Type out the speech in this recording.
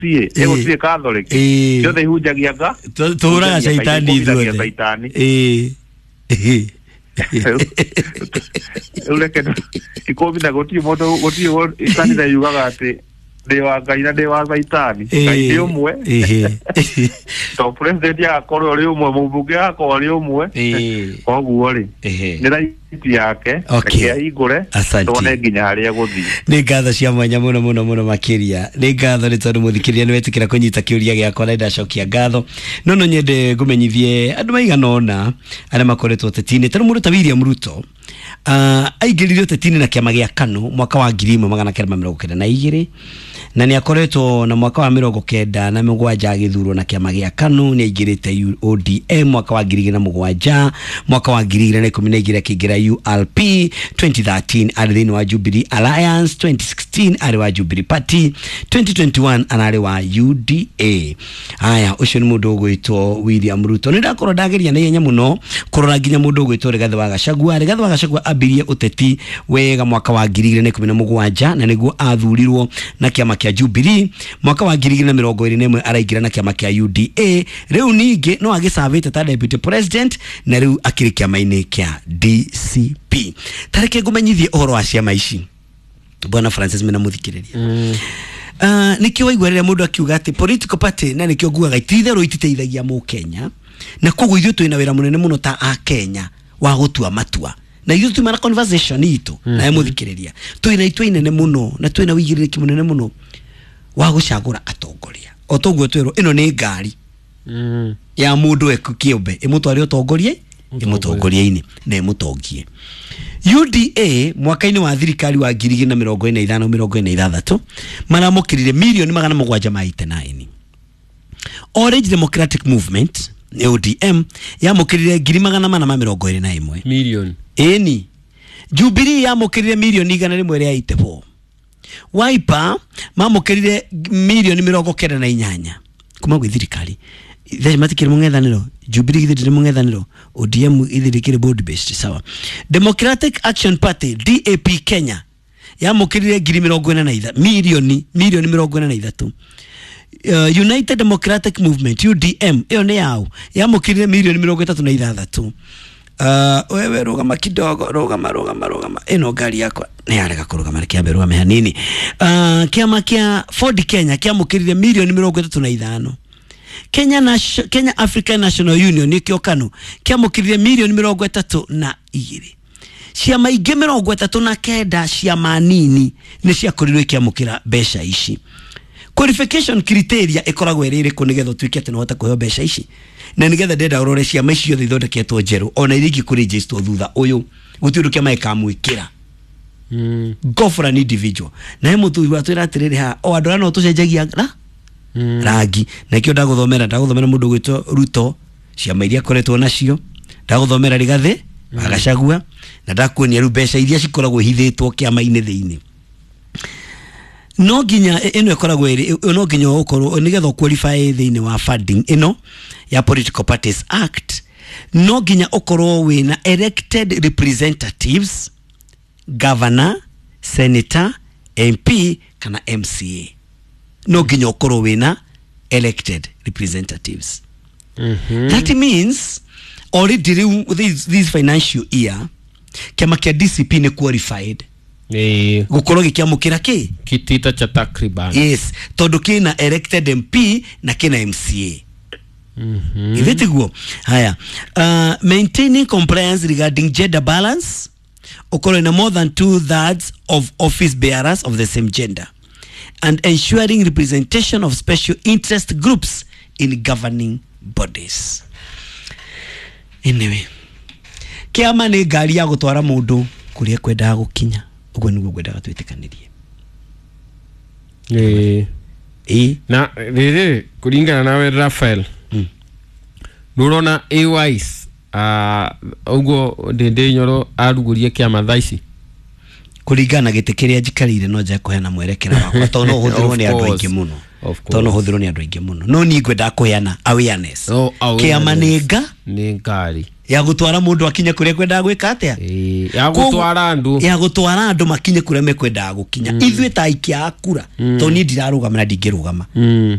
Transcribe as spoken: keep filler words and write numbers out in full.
Ĩ gũtirĩ Catholic. Ciothe ihunjagia nga. Tũhũraga caitani ithuothe. Ĩ. Rĩu reke ikũmi na gũtirĩ mũndũ, gũtirĩ kanitha yugaga atĩ ndĩ wa Ngai na ndĩ wa caitani. Ngai nĩ ũmwe. To president agakorwo arĩ ũmwe, mũmbunge agakorwo arĩ ũmwe. Koguo rĩ, nĩ right yake, reke ahingũre tuone nginya harĩa gũthiĩ. Nĩ ngatho cia mwanya mũno mũno mũno makĩria. Nĩ ngatho nĩ tondũ mũthikĩrĩria nĩ wetĩkĩra kũnyita kĩũria gĩakwa na ndacokia ngatho. No no nyende ngũmenyithie andũ maigana ũna arĩa makoretwo ũteti-inĩ. Ta rĩu mũndũ ta William Ruto uh, aingĩrire ũteti-inĩ na kĩama gĩa KANU mwaka wa ngiri ĩmwe magana kenda ma mĩrongo kenda na igĩrĩ, na nĩ akoretwo na mwaka wa mĩrongo kenda na mũgwanja agĩthurwo na kĩama gĩa KANU. Nĩ aingĩrĩte O D M mwaka wa ngiri igĩrĩ na mũgwanja, mwaka wa ngiri igĩrĩ na ikũmi na igĩrĩ akĩingĩra U R P, twenty thirteen arĩ thĩinĩ wa Jubilee Alliance, twenty sixteen arĩ wa Jubilee Party, twenty twenty one ararĩ wa U D A. Aya, ũcio nĩ mũndũ ũgwĩtwo William Ruto. Nĩ ndakorwo ndageria na ihenya mũno kũrora nginya mũndũ ũgwĩtwo Rigathĩ wa Gachagua. Rigathĩ wa Gachagua ambirie ũteti wega mwaka wa ngiri igĩrĩ na ikũmi na mũgwanja, na nĩguo athurirwo na kĩama kĩa Jubilee. Mwaka wa ngiri igĩrĩ na mĩrongo ĩrĩ na ĩmwe araingĩra na kĩama kĩa U D A. Rĩu ningĩ no agĩcavĩte ta deputy president, na rĩu akĩrĩ kĩama-inĩ kĩa D C P. Tareke ngũmenyithie ũhoro wa ciama ici, Bwana Francis mena mũthikĩrĩria. Mm. Uh, nĩkĩo waigua rĩrĩa mũndũ akiuga atĩ political party, na nĩkĩo nguaga ititherũ ititeithagia mũkenya, na koguo ithuĩ twĩna wĩra mũnene mũno ta akenya wa gũtua matua, na ithuĩ tuma na conversation itũ na mũthikĩrĩria, twĩna itua inene mũno na twĩna ũigĩrĩrĩki mũnene mũno wa gũcagũra atongoria. O toguo twĩrwo ĩno nĩ ngari mm. ya mũndũ kĩũmbe ĩmũtware ũtongorie, ĩmũtongorie-inĩ na ĩmũtongie. U D A mwaka-inĩ wa thirikari wa ngiri igĩrĩ na mĩrongo ĩna ithano mĩrongo ĩna ithathatũ maramũkĩrire mirioni magana mũgwanja ma eighty nine. Orange Democratic Movement O D M yamũkĩrire ngiri magana mana ma mĩrongo ĩrĩ na ĩmwe milioni. Ĩni Jubilee yamũkĩrire mirioni igana rĩmwe rĩa eighty four. Wiper mamũkĩrire mirioni mĩrongo kenda na inyanya kuma gwĩ thirikari. Ithe matikĩrĩ mũng'ethanĩro, Jubilee githĩ ndĩrĩ mũng'ethanĩro, O D M ithĩ ndĩkĩrĩ board based sawa. Democratic Action Party D A P Kenya yamũkĩrire ngiri mĩrongo ĩna na ithatũ milioni milioni mĩrongo ĩna na ithatũ. Uh, United Democratic Movement U D M ĩyo nĩ yao yamũkĩrire milioni mĩrongo ĩtatũ na ithathatũ. Uh, wewe rũgama kidogo, rũgama rũgama rũgama, ĩno ngari yakwa nĩ yarega kũrũgama, reke ambe rũgame hanini. Uh, kĩama kĩa Ford Kenya kĩamũkĩrire milioni mĩrongo ĩtatũ na ithano. Kenya Nation, Kenya African National Union nĩkĩo KANU kĩamũkĩrire milioni mĩrongo ĩtatũ na igĩrĩ. Ciama ingĩ mĩrongo ĩtatũ na kenda ciama nini nĩ ciakorirwo ikĩamũkĩra mbeca ici. Qualification criteria ĩkoragwo ĩrĩ ĩrĩkũ nĩgetha ũtuĩke atĩ nĩũhote kũheo mbeca ici? Na nĩgetha ndenda ũrore ciama ici ciothe ithondeketwo njerũ ona iria ingĩ kũregisterwo thutha ũyũ, gũtirĩ ũndũ kĩama gĩkamwĩkĩra. Mm. Go for an individual. Na he mũthuri watwĩra atĩrĩrĩ haha, o andũ arĩa no tũcenjagia ra Mm. rangi. Na kĩo ndagũthomera, ndagũthomera mũndũ ũgwĩtwo Ruto, ciama iria akoretwo nacio, ndagũthomera Rigathĩ wa Gachagua, na ndakuonia rĩu mbeca iria cikoragwo ihithĩtwo kĩama-inĩ thĩinĩ. No nginya ĩno ĩkoragwo ĩrĩ, no nginya ũkorwo nĩgetha ũqualify thĩinĩ wa funding ĩno ya Political Parties Act, no nginya ũkorwo wĩna elected representatives, governor, senator, M P kana M C A. No nginya ũkorwo wĩna elected representatives. Mm-hmm. That means already rĩu this, this financial year kĩama kĩa D C P nĩ qualified. Eh, gũkorwo gĩkĩamũkĩra kĩ kitita cha takriban. Yes, tondũ kĩna elected M P na kĩna M C A. Mm-hmm. Ithe tiguo. Haya, uh, maintaining compliance regarding gender balance, ũkorwo na more than two thirds of office bearers of the same gender, and ensuring representation of special interest groups in governing bodies. Anyway, kĩama nĩ ngari ya gũtwara mũndũ kũrĩa kwendaga gũkinya. Ũguo nĩguo ngwendaga twĩtĩkanĩrie. Eh. Ĩ. Na rĩrĩ kũringana nawe Raphael, Mm. nũrona A Wise ũguo Ndĩndĩ Nyoro arugũrie kĩama thaa ici? Kũringana na gĩtĩ kĩrĩa njikarĩire no nje kũheana mwerekera wakwa tondũ no ũhũthĩrwo nĩ andũ aingĩ mũno. Tondũ no ũhũthĩrwo nĩ andũ aingĩ mũno. No niĩ ngwendaga kũheana awareness. Oh, awareness. Kĩama nĩ nga? Nĩ ngari. Ya gũtwara mũndũ akinye kũrĩa kwendaga gwĩka atĩa? Ĩĩ, ya gũtwara andũ. Ya gũtwara andũ makinye kũrĩa mekwendaga gũkinya. Ithuĩ ta aikia a kura, tondũ niĩ ndirarũgama na ndingĩrũgama. Mm.